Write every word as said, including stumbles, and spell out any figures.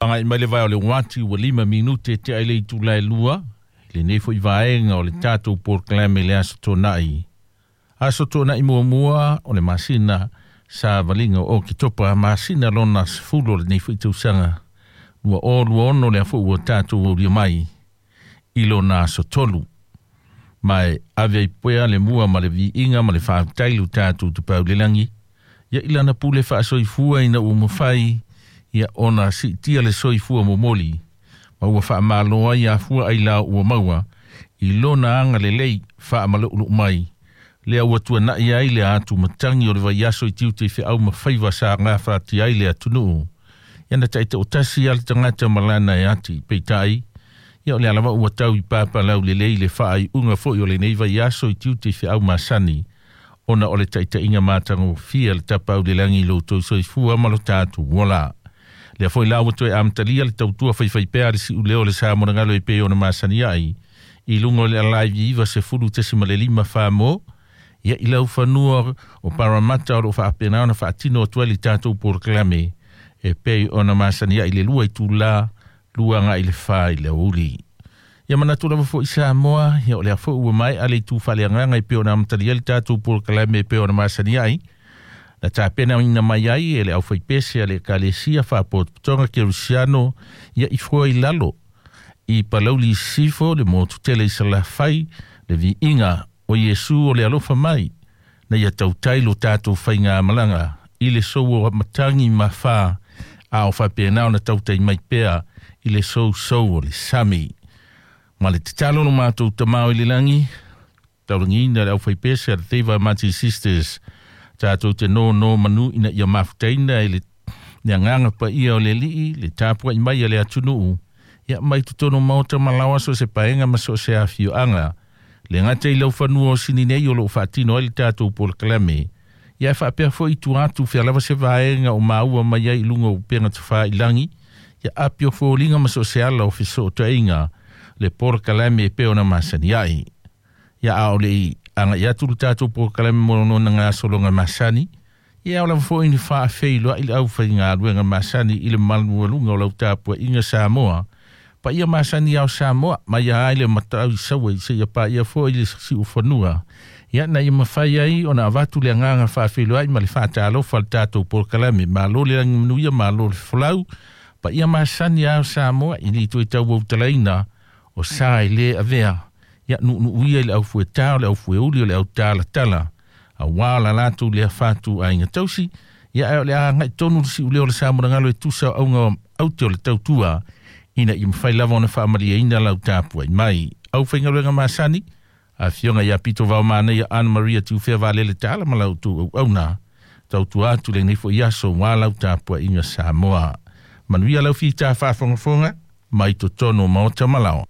Agai mai le vai o le uati ua lima minute te ai le itula e lua, lenei foi vaega o le tatou polokalame le Aso Toonai. Aso Toonai muamua o le masina savaliga o Oketopa, masina lona sefulu o lenei foi tausaga lua o lua ono, lea foi ua tatou aulia mai i lona aso tolu. Ma e ave ai pea le mua ma le viiga ma le faafetai i lo tatou Tapaau i le Lagi, ia i lana pule faasoifua ina ua mafai ia ona siitia le soifua momoli ma ua faamalo ai afua ailao ua maua i lona agalelei faamaluulu'u mai lea ua tuana'i ai le atumatagi o le vaiaso i tiute i fe'au ma faiva sa gafatia ai le atunuu. Ia na ta'ita'otasi a le tagata ma lana e ati peita'i, ia o le alava ua tau i papalau lelei le faaiuga foi o lenei vaiaso i tiute i fe'au masani ona o le ta'ita'iga matagofie a le Tapaau i le Lagi i lo outou soifua ma lo tatou ola. Lea foi la ua toe amatalia le tautua faifaipea a le si'uleo o le sa monagalo e pei ona masani ai i luga o le alaivi iva sefulu tesi ma le lima famo ia i lau fanua o Paramata o loo faapena ona faatino atu ai le tatou polokalame e pei ona masani ai le lua itulā lua agai le fa i le aoauli. Ia manatu lava foi Samoa, ia o lea foi ua mae'a le itu faaleagaga e pei ona amatalia le tatou polokalame e pei ona masani ai na tapenaina mai ai e le aufaipese a le Ekalesia Faapotopotoga Kerisiano ia i fua i lalo i Palauli Sisifo le motu tele i Salafai le viiga o Iesu o le alofa mai na ia tautai lo tatou faigamalaga i le sou o matagi ma fā a o faapena ona tautai mai pea i le sousou o le sami. Ma le tatalo lo matou Tamā i le lagi, taulagiina le aufaipese a le Teiva Mati Sisters tatou te nonomanu ina ia mafutaina i le le agaga paia o le Alii le tapua'i mai a le atunuu ia mai totonu maota ma laoa so se paega ma so o se afioaga le gata i laufanua o sini nei o loo faatino ai le tatou polokalame ia e faapea foi tua atu fea lava se vaega o maua mai ai i luga o upega tafailagi ia apio foliga ma so o se ala o fesootaiga le polokalame e pei ona masani ai. Ia a o le aga'i atu le tatou polokalame mo lona gasologa masani, ia o lava foi ni faafeiloa'i le aufaigaluega masani i le malualuga o lau tapua'iga Samoa paia masani ao Samoa mai ai le matau i saua i seia paia foi le si'ufanua ia na ia mafai ai ona avatu le agaga faafeiloai ma le faatalofa le tatou polokalame. Malo le lagi manuia, malo le folau paia masani ao Samoa i li toe tauautalaina o sa e lē avea ia nu'unu'uia i le aufuetā o le aufueuli o le autalatala auā la latou lea fatu aiga tausi ia ae o le aga'i tonu le si'uleo o le sa monagalo e tusa o auga aute o le tautua ina ia mafai lava ona faamalieina lau tapuai mai aufaigaluega masani afioga ia Pito Vaomanaia Ana Maria Tiufea Valele Tala ma lau outou auauna tautua atu lenei foi aso uā lau tapua'iga Samoa. Manuia lau fita faafogafoga mai totonu o maota ma laoa.